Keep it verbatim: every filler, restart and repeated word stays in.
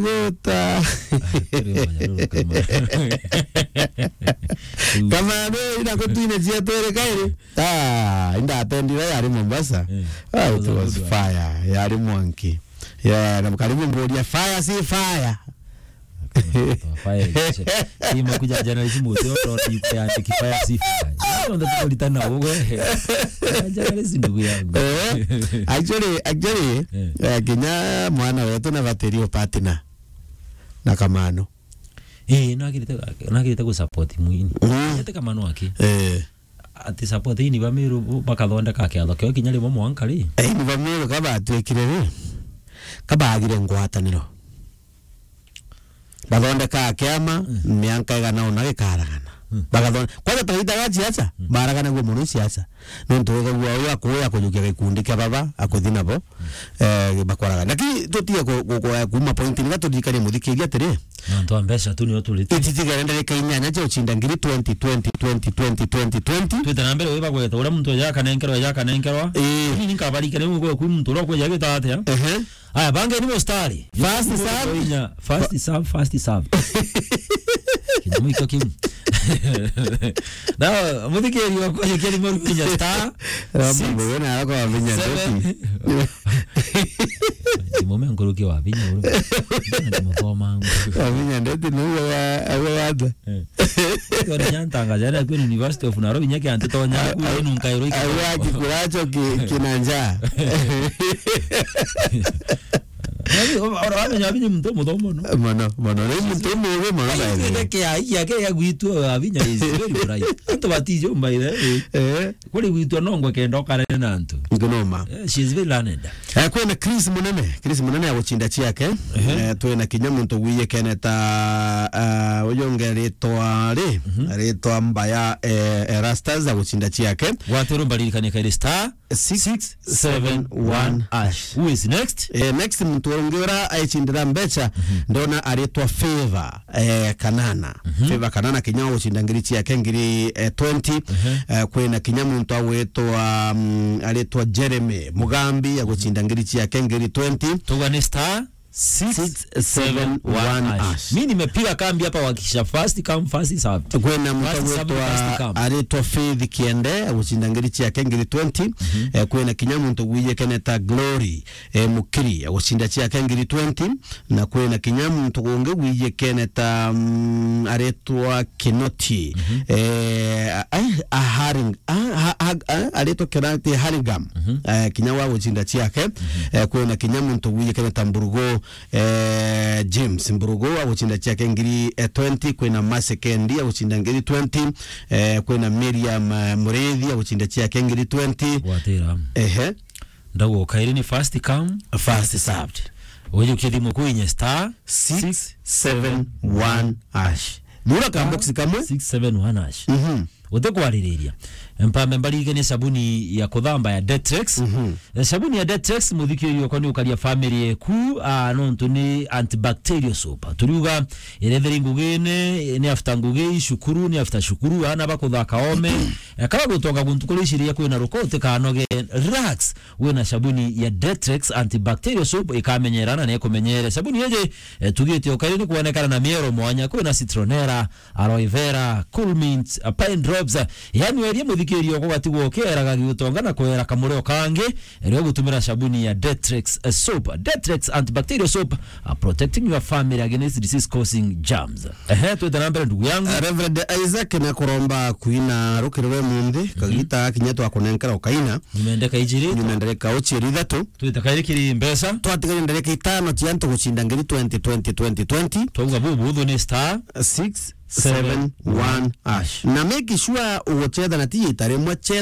Guta. Turi mwanya ruru kama. Kama ni ina kutwine cia twere kairi. Ah, inda atendire yari Mombasa. Eh. Ah, it was fire. Yari mwanki. Yeah, na karibu mburia fire si fire. Fire. Ima kuja jana ici muti oto ni kuya ni kifaya si fire. Ndio ndio tukulitana ugo. Jana ici ndugu yangu. Eh, actually, actually, eh, kinya mwana wetu na battery partner na Kamano. Eh, nagirite, nagirite ku support mwini. Mm. Ete Kamano aki. Eh. Ati support ini ba Meru bakathondeka kiatho kio kinya rimwe mwanka ri. Eh, ni ba Meru kabatwikire ri. Kabagire ngwataniro. Bathondeka kiama, mm, mianka igana ona gikaragana. Mm. Bagathon-, kwanza twaitaga siasa, mm, baragana guo muno siasa. Nontu wigagua uyu akuya kujukia gikundi kia baba, akuthi nabo, mm, eh, bakwaraga. Lakini tutige ku-, ku-, ku-, kuma point ni gaturirikanie muthikiria atiri. Nontu a mbeca tu nio turite. Ititigere ndarika inyanya cia ucinda ngiri twenty, twenty, twenty, twenty, twenty, twenty. Twite na mbere wi bagweta, uria muntu eja akanenkerwa, eja akanenkerwa. Ii. Ni nkabarikania wi gwe kwi muntu uria ukweja gwita atia. Ehe. Aya, bangeni mustari. First serve. Inya, first serve, first serve. Kinya mwiko kiu. Na, muthikiri wa kwa kiri mwaru kinya star. Six, seven. Mume nkuruki wa vinya uru. Ni muthoma. Wa vinya ndeti ni uwe wa, uwe wa nda. Eh. Tore nyantanga jana kwini University of Nairobi nyake antitonya ku inu nkairo iki. Awe akikuracho ki, kinanja. Nani, o-, ora wamenya Avinya muntu muthomo no. Mono, mono. Ni muntu muge mono. Ai, by the way. Ke ai yake ya gwitu Avinya is very bright. Antu batijo by the way. Eh. Kuri gwitu no ngwe kenda okare na antu. Ngunoma. Eh, she is very learned. Eh, kwina Chris Munene, Chris Munene ya gucinda ciake. Ehe. Eh, twina kinya muntu gwiye keneta, ah, uyu unge ritwa ri, mhm, ritwa Mbaya, eh, Erastus ya gucinda ciake. Gwatiro mbaririkanie kairi star six seven one hash. Who is next? Eh, next muntu ungi ura aicindira mbeca, mhm, ndona aritwa Favor, eh, Kanana. Mhm. Favor Kanana kinya wa gucinda ngiri ciake ngiri, eh, twenty. Mhm. Eh, kwina kinya muntu agwitwa, mm, aritwa Jeremy Mugambi ya gucinda ngiri ciake ngiri twenty. Tuga ni star six seven one hash. Mi nimepiga kambi hapa kuhakikisha first come, first served. Kwina muntu agwitwa aritwa Faith Kiende, agucinda ngiri ciake ngiri twenty. Mhm. Eh, kwina kinya muntu gwiye keneta Glory, eh, Mukiri, agucinda ciake ngiri twenty. Na kwina kinya muntu ungi gwiye keneta, mm, aritwa Kinoti. Mhm. Eh, a-, a-, a Haring-, a-, a-, a-, a-, aritwa Kinoti Haringam. Mhm. Eh, kinya wa gucinda ciake. Mhm. Eh, kwina kinya muntu gwiye keneta Mburugu, eh, James Mburugu agucinda ciake ngiri, eh, twenty, kwina Mercy Kendi agucinda ngiri twenty, eh, kwina Miriam, eh, Murithi agucinda ciake ngiri twenty. Gwatira. Ehe. Ndaguo kairi ni first come, first served. Ujukie thimu kuinye star six seven one hash. Nura ka box kamwe? Six seven one hash. Mhm. Utikwaririria. Mpambe mbaririkanie sabuni ya kuthamba ya Detrex. Mhm. Eh, sabuni ya Detrex, muthikiriria okwa ni ukaria family eku, ah, nontu ni antibacterial soap. Turiuga, iretheri ngugine, ni after ngugi, shukuru, ni after shukuru, ana bakuthaka ome. Eh, kaba gutonga guntu kuri iciria kwina ruko, utikanoge, relax. Wina sabuni ya Detrex antibacterial soap ikamenyera na nikumenyere. Sabuni iji, eh, tugite ukairi ni kuonekana na miero mwanya, kwina citronella, aloe vera, cool mint, uh, pine drops. Yani werie muthikiriria okwa ugatigwa ukieraga giutonga na kuera kamureo kangi, rio gutumira sabuni ya Detrex, uh, soap. Detrex antibacterial soap, uh, protecting your family against disease causing germs. Ehe, twite na mbere ndugu yangu. Uh, Reverend Isaac na kuromba kuina rukirwe munthi, mhm, kagita kinya twakunenkera ukaina. Nyumendeka ijiri. Nyumendeka uchieri ithatu. Twite kairi kiri mbeca. Twatigaire ndarika itano cia antu gucinda ngiri twenty, twenty, twenty, twenty. Twauga bubu buthu ni star six seven one hash. Na make sure uguchetha na ti ita rimwe, chetha